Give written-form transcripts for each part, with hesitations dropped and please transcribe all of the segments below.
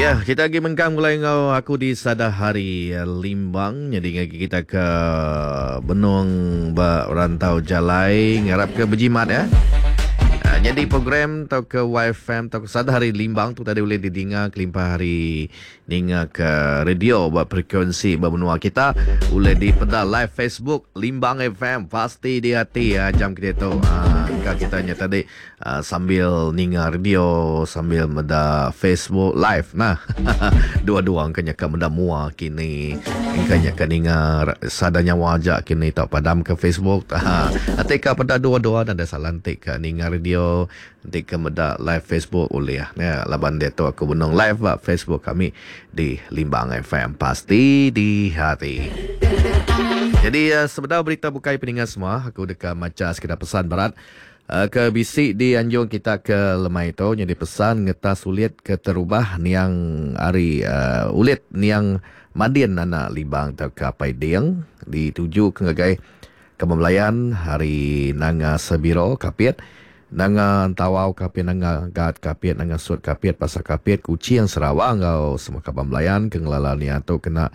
Ya, kita agi mengkang mulai enggau aku di Sada Hari Limbang. Jadi ngagi kita ke benung ba rantau jalai ngarap ke bejimat ya. Ah, jadi program atau ke YFM atau ke Sada Hari Limbang tu tadi boleh didinga kelimpah hari Ninga ke radio ba frekuensi ba menua kita ulih dipeda live Facebook Limbang FM pasti di ati ya jam kita tu. Ha, engka kita nya tadi uh, sambil ninga radio sambil meda Facebook live nah. Dua-dua engka nya ka meda mua kini. Engka nya ka ninga sada nyawa aja kini tau padam ke Facebook. Ha, ati ka peda dua-dua nadai salah enti ka ninga radio Enti ke meda live Facebook ulih nya laban diatu aku benung live ba Facebook kami di Limbang FM pasti di hati. Jadi eh, sebedau berita bukai peninga semua aku deka macha sekeda pesan berat eh, ke bisi dianjung kita ke lemai tu nyadi pesan ngetas ulit ke terubah niang ari uh, ulit niang Mandin anak Libang tauka Apai Ding dituju ke ngagai Kaban belayan ari Nanga Sebiro, Kapit, Nanga Entawau, Kapit, Nanga Gat, Kapit, Nanga Sut, Kapit, Pasar Kapit, Kuching, Sarawak enggau semua kaban belayan ke ngelala nia tu kena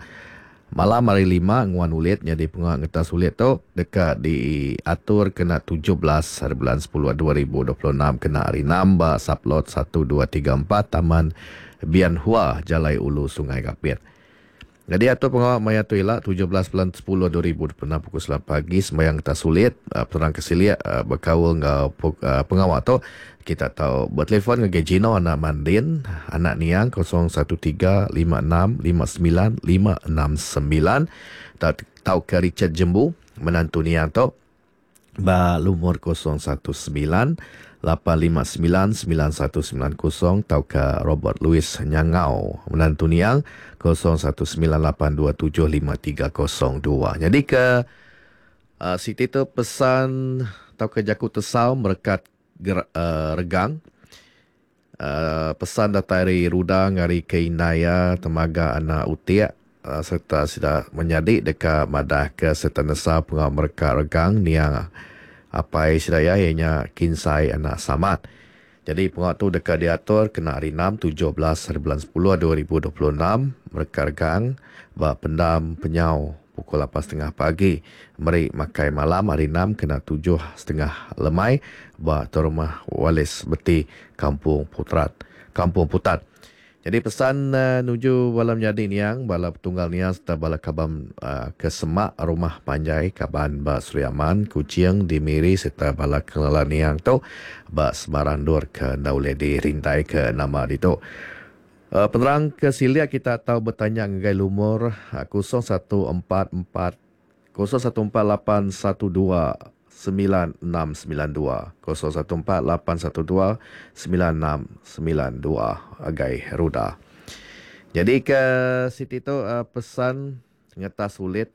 malam hari Lima nguan ulit nyadi pengawa ngetas ulit tu deka diatur kena 17 haribulan 10 2026 kena hari Enam ba Sublot satu dua tiga empat Taman Bian Hua, Jalai Ulu Sungai Kapit. Nyadi atur pengawa maya tu ila 17 bulan 10 2026 pukul 9 pagi sembahyang kita sulit penerang ke silik bekaul enggau pengawa tu kita tau betelefon ngagai Gino anak Mandin anak Niang 013 56 59 569 tauka Richard Jembu menantu Niang tu. Ba lumur 019 859 9190 tauka Robert Louis Nyangau menantu niang 019 827 5302. Nyadi ke uh, siti tu pesan tauka jaku tesau merekat ger, uh, regang uh, pesan datai ari Ruda ngari ke indai iya Temaga anak Utik uh, sereta sida menyadi deka madah ke sereta nesau pengawa mereka regang niang apai sida iya iya nya Kinsai anak Samat. Jadi pengawa tu deka diatur kena hari 6 17 hari bulan 10 2026 mereka regang ba pendam penyau pukul 8.30 pagi meri makai malam hari 6 kena 7.30 lemai ba Tuan Rumah Wallace Beti Kampung Putrat Kampung Putat. Jadi pesan uh, nuju bala menyadi niang, bala petunggal niang serta bala kaban uh, ke semak rumah panjai kaban ba Sri Aman, Kuching, di Miri serta bala kelala niang tu ba sebarang endur ke enda ulih dirintai ke nama ditu. Uh, penerang ke silik kita tau betanya ngagai lumur uh, 0144 014812 9692 014812 9692 agai Ruda. Jadi ke siti tu uh, pesan ngetas ulit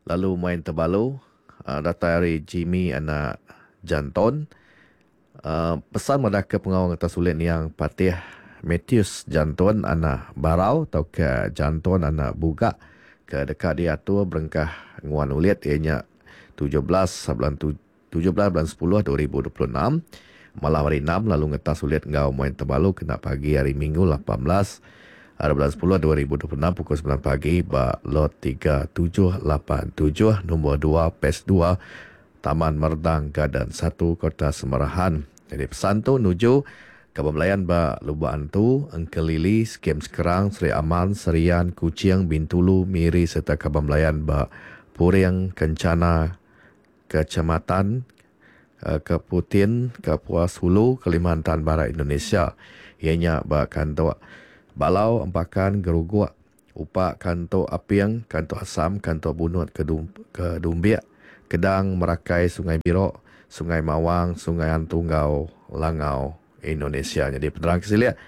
lalu main tebalu uh, datai ari Jimmy anak Janton. Uh, pesan madah ke pengawa ngetas ulit niang Patih Matthews Janton anak Barau tauka ke Janton anak Bugak ke deka diatur berengkah nguan ulit iya nya 17 bulan 17 bulan 10 2026 malam hari 6 lalu ngetas ulit enggau main tebalu kena pagi hari Minggu 18 hari bulan 10 2026 pukul 9 pagi ba lot 3787 nombor 2 PES 2 Taman Merdang Garden 1 Kota Semarahan. Jadi pesan tu nuju Kaban Belayan ba Lubok Antu, Engkelili, Skim Sekerang, Sri Aman, Serian, Kuching, Bintulu, Miri sereta Kaban Belayan ba Puring, Kencana, Kecamatan Keputin, Kapuas Hulu, Kalimantan Barat, Indonesia. Iya nya ba Kantuk Balau, Empakan, Geruguk, Upa Kantuk Aping, Kantuk Asam, Kantuk Bunut ke ke Dumbik, Kedang, Merakai, Sungai Birok, Sungai Mawang, Sungai Antu enggau Langau, Indonesia. Nyadi penerang ke silik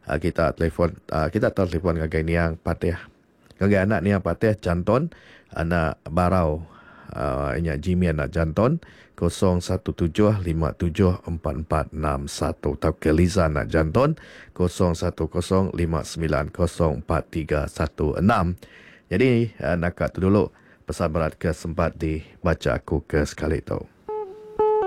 kita telefon kita tau telefon ngagai niang Patih ngagai anak niang Patih Chanton anak Barau inya Jimmy anak Janton 017574461 tauka Liza anak Janton 0105904316. Jadi naka tu dulu pesan berat ke sempat dibacha aku ke sekali tu.